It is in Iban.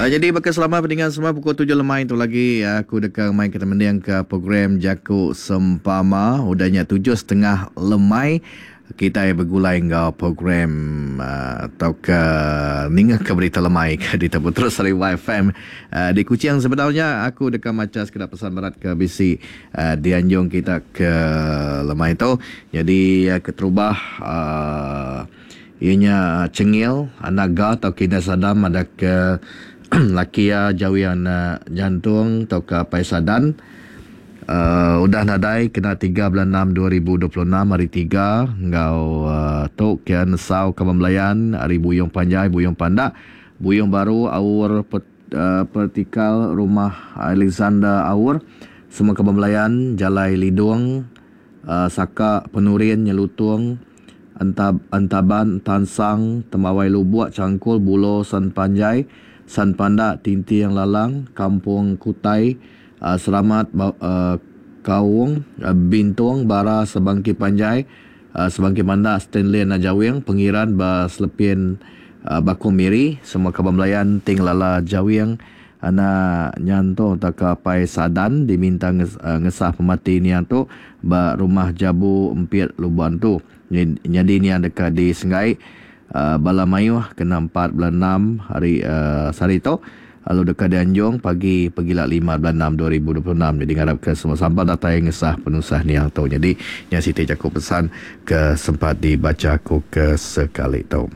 Jadi baka selama peninga semua pukul 7 lemai tu lagi aku deka mai kita mending ke program Jaku Sempama udah nya 7.30 lemai kitai begulai enggau program tauka ninga ke berita lemai ke ditepu terus ari YFM di Kuching. Sebedau nya aku deka macha sekeda pesan berat ke bisi dianjung kita ke lemai tu. Jadi keterubah iya nya Chengil anak Ga tauka Indai Sadam ada ke laki iya Jawi anak Jantung tauka Apai Sadan uhh udah nadai kena 3 bulan 6 2026 hari tiga enggau uhh tu ke nesau Kaban Belayan ari Buyong Panjai Buyong Pandak Buyong Baru Aur uhh Pertikal Rumah Alexander Aur semua Kaban Belayan Jalai Lidong uhh Saka Penurin Nyelutung Entab Entaban Tansang Tembawai Lubuk Changkul Bulo San Panjai San Pandak Tinting Lalang Kampung Kutai uhh Seramat uhh Kaung Bintong Bara Sebangki Panjai uhh Sebangki Pandak Stanley Anak Jawing Pengiran ba Selepin uhh Bakong Miri semua kaban belayan Ting Lala Jawing Anak Nyantung tauka Apai Sadan diminta ngesah pemati niang tu ba Rumah Jabu Empit Lubok Antu. Nyadi niang deka disenggai bala mayuh kena 4 bulan 6 hari sehari tu lalu deka dianjung pagi pegila 5 bulan 6 2026. Jadi ngarapka semua sampal datai ngesah penusah niang tu. Jadi nya siti jaku pesan ke sempat dibacha aku ke sekali tu.